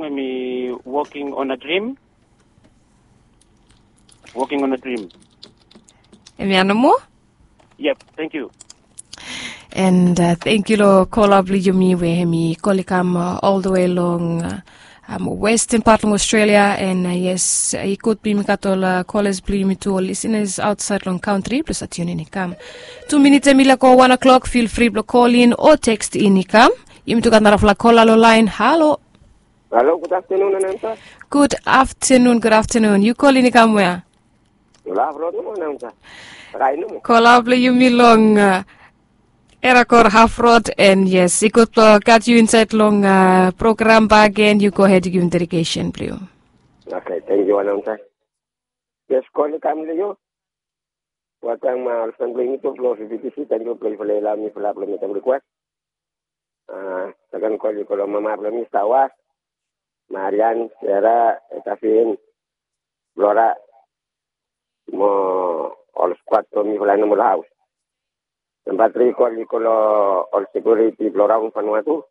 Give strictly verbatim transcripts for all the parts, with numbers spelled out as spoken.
Hemi Walking on a Dream. Walking on a Dream. Hemia nomo? Yep, thank you. And uh, thank you lo kola blong yumi we hemi kol i kam uh, all the way long uh, um, western part long Australia. And uh, yes, uh, i gud blong yumi gat ol uh, callers blong yumi tu ol listeners outside long country blong sa tune in i kam. Two minutes hemi lego one o'clock, feel free blong call in o text in i kam. Yumi tu gat narafala kola lo line. Halo. Halo, good afternoon, announcer. Good afternoon, good afternoon. Yu kolin i kam wea? Love road nomo, announcer. Rai nomo. Kola blong yumi long uh, Erakor Half Road, and yes, i gud blong gat yu insaed long uh, program bak gen. Yu go ahed yu givim dedication blong yu. Okay, thank you, announcer. Yes, kol i kam long yu. Welkam uh, ol fan blong yumi tu blong V B T C, thank you blong yufala i laoem mifala blong mekem request. Uh, second call i go long mama blong mi Stawas, Marian, Sera, Etafin, Flora, mo ol squad blong mifala nomo long haos. Namba tri call i go long ol security blong raon Vanuatu.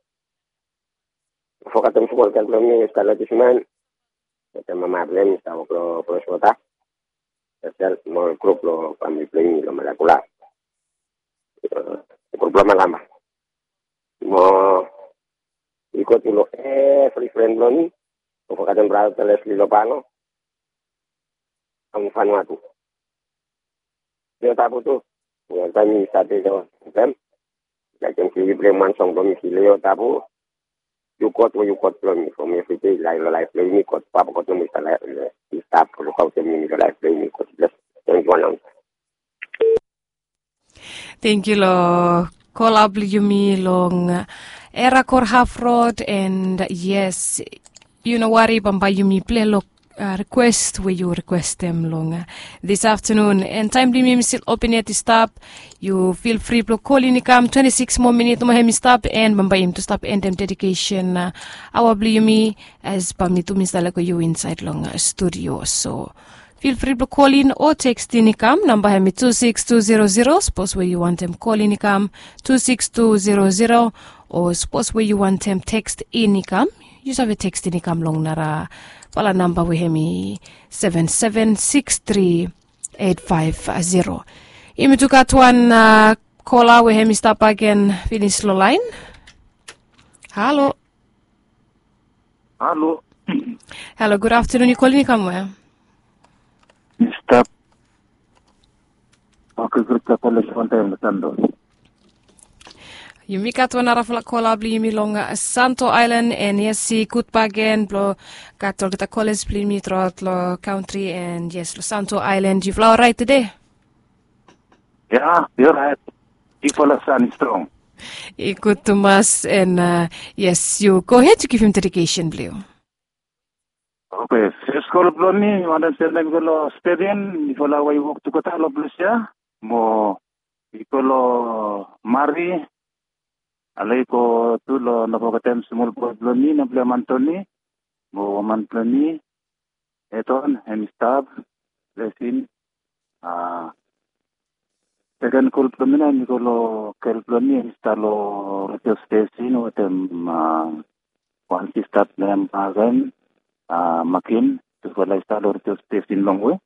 Fogetem smol gel blong mi Stella Disman. Wetem mama blong hem i stap wok long Freshwater. Spesel mo grup blong famili blong yumi long Malakula. Grup blong Malamba. Mo i go tu long evri fren blong mi. Mo fogetem brata Leslie Lobango. Long Vanuatu. Leo Tabu tu. Welkam yu save long dem. Laekem se yu blem wan song blong mi si Leo Tabu. Yu God we yu God blong mi from evri dei lae long laef blong yumi. God Papa God nomo i stap lukaotem yumi long laef blong yumi. God bless. Thank you, announcer. Thank you lo kola blong yumi long uh, Erakor Half Road, and uh, yes, yu no wari, bambae yumi plei lo uh, request we yu requestem long uh, this afternoon. And taem blong yumi hemi stil open yet i stap. Yu feel free blong kolin i kam. Twenty six moa minit nomo hemi stap, and bambae yumi tu stap endem dedication uh, aoa blong yumi as bambae mi tu mi stap lego yu insaed long uh, studio. So feel free blong kolin o tekstin i kam. Namba hemi two six two zero zero. Sapos we yu wantem kolin i kam, two six two zero zero. O sapos we yu wantem tekstin i kam, yu save tekstin i kam long narafala namba we hemi seven seven six three eight five zero. Yumi tu gat wan uh, kola we hemi stap agen finis long laen. Halo. Halo. Halo, good afternoon. Yu kolin i kam wea? Mi stap. Okay, great. Stap wan taem long Santo. Yumi gat wan narafala kola blong yumi long uh, Santo Island, and yes, i gud bagen blong gat olgeta callers blong yumi truaot long country, and yes, long Santo Island. Yufala oraet tede? Ya, mi oraet. Bigfala san i strong. I gud tumas, and uh, yes, yu go ahed yu givim dedication blong yu. Okay, fes kol blong mi, mi wantem sendem i go long Stephen, mifala we i wok tugeta long ples ya, mo i go long Mari, ale i go tu long, no fogetem smol boe blong mi, nem blong hem Antoni, mo woman blong mi, Eton, hem i stap, Lesin, a, seken kol blong mi nao, hemi go long gel blong mi, hem i stap long redio stesin wetem, a, wan sista blong hem, a, Makin, tufala i stap long redio stesin longwe.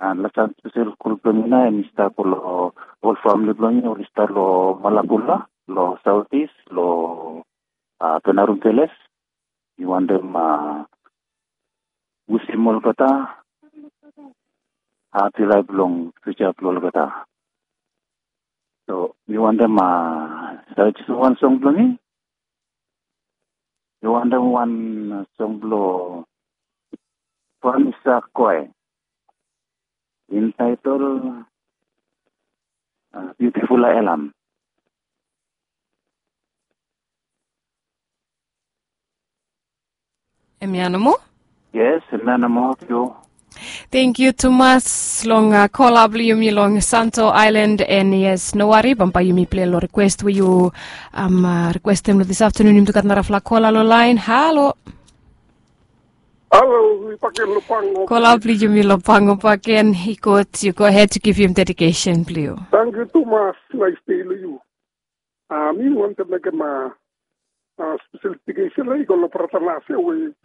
An last taem spesel kol blong mi nao, hemi stap long ol famili blong mi, oli stap long Malakula, long Saotis, long, a, Penarum Peles. Mi wantem, a, wisem olgeta hapi laef long fiuja blong olgeta. So mi wantem, a, save jes wan song blong mi. Mi wantem wan song blong Vanessa Koe, entitled, a, Beautiful Elam. Hemia nomo? Yes, hemia nomo. Thank you tumas long, a, kola blong yumi long Santo Island, and yes, no wari, bambae yumi plei long request we yu, am, a, requestem long this afternoon. Yumi tu gat narafala kola long laen. Halo. Halo, mi baken long Pango. Kola blong yumi long Pango baken, i gud, yu go ahed yu givim dedication blong yu. Tangkiu tumas, naes dei long yu. A, mi wantem mekem, a, special education la i go long brata nase we i